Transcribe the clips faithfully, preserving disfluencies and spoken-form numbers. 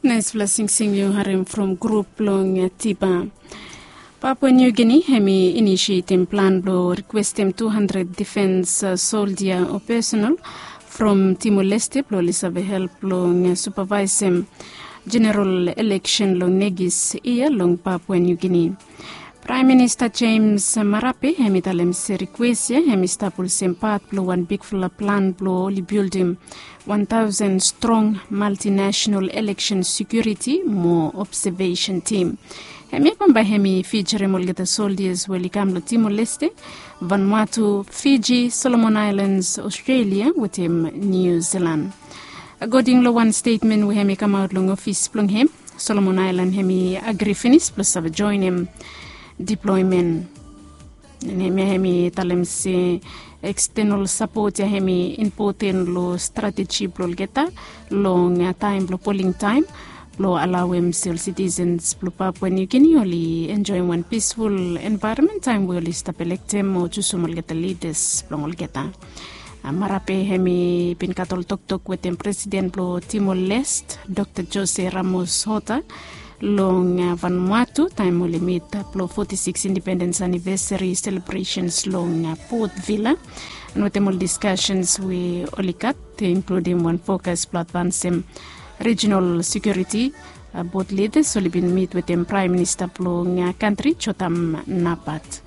Naispela singsing yu harim from grup blong Tiba. Papua New Guinea hem i inisietim plan blong rikwestim tu handred difens soldia o pesonal from Timor Leste blong oli save help long supavaisim jeneral eleksen long negis yia long Papua New Guinea. Praem Minista James Marape hem i talem se rikwes ya hem i stap olsem pat blong wan bigfala plan blong oli bildim wan taosen strong multinational election security mo observation team. Hem ya bambae hem i fijarim olgeta soldias we oli kam long Timor Leste, Vanuatu, Fiji, Solomon Islands, Australia wetem New Zealand. Akoding long wan stetmen we hem i kamaot long ofis blong hem, Solomon Island hem i agri finis blong save joenem diploemen. Hem ya hem i talem se ekstenol sapot ya hem i impoten long strateji blong olgeta long taem blong poling taem blong alaoem se ol sitisens blong Papua New Guinea oli enjoem wan pisful envaeronmen taem we oli stap elektem o jusum olgeta lidas blong olgeta. Marape hem i bin gat ol toktok wetem presiden blong Timor Leste, Dr Jose Ramos Horta, long Vanuatu taem oli mit blong foti sikis indipendens anivesari selebresens long Port Vila. An wetem ol diskasens we oli gat, inkludim wan fokas blong advansem rijinal sekiuriti. Bot lidas oli bin mit wetem praem minista blong kantri, Jotham Napat.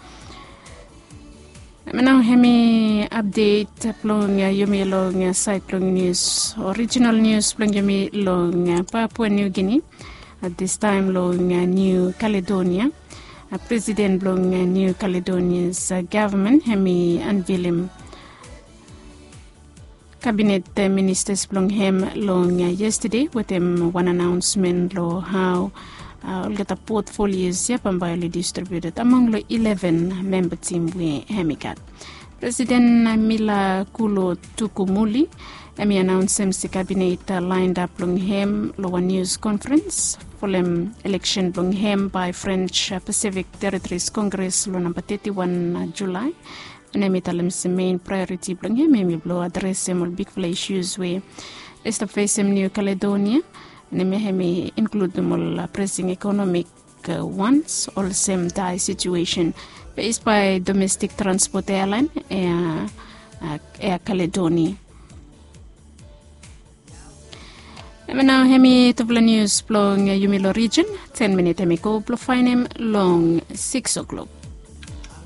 Nao hem i apdet blong yumi long saed blong nius, orijinal nius blong yumi long Papua New Guinea, distaem long New Caledonia. Presiden blong New Caledonia's gavman hem i anvilim kabinet ministas blong hem long yestade wetem wan anaonsmen long hao olgeta potfolios ya bambae oli distribiuted among long ileven memba tim we hem i gat. Presiden Mila Kulo Tukumuli hem i anaonsem se kabinet laendap long hem long wan nius konferens folem eleksen blong hem bae French Pacific Territories Congress long namba teti wan Julae. An hem i talem se mein praeoriti blong hem hem i blong adresem ol bigfala isus we i stap fesem New Caledonia. An hem ya hem i inkludim ol presing ekonomik wans olsem dae situesen fes bae domestik transpot ealaen, Air Caledonia. Hem ya nao hem i tufala nius blong yumi long rijin. Ten minit hem i go blong faenem long sikis oklok.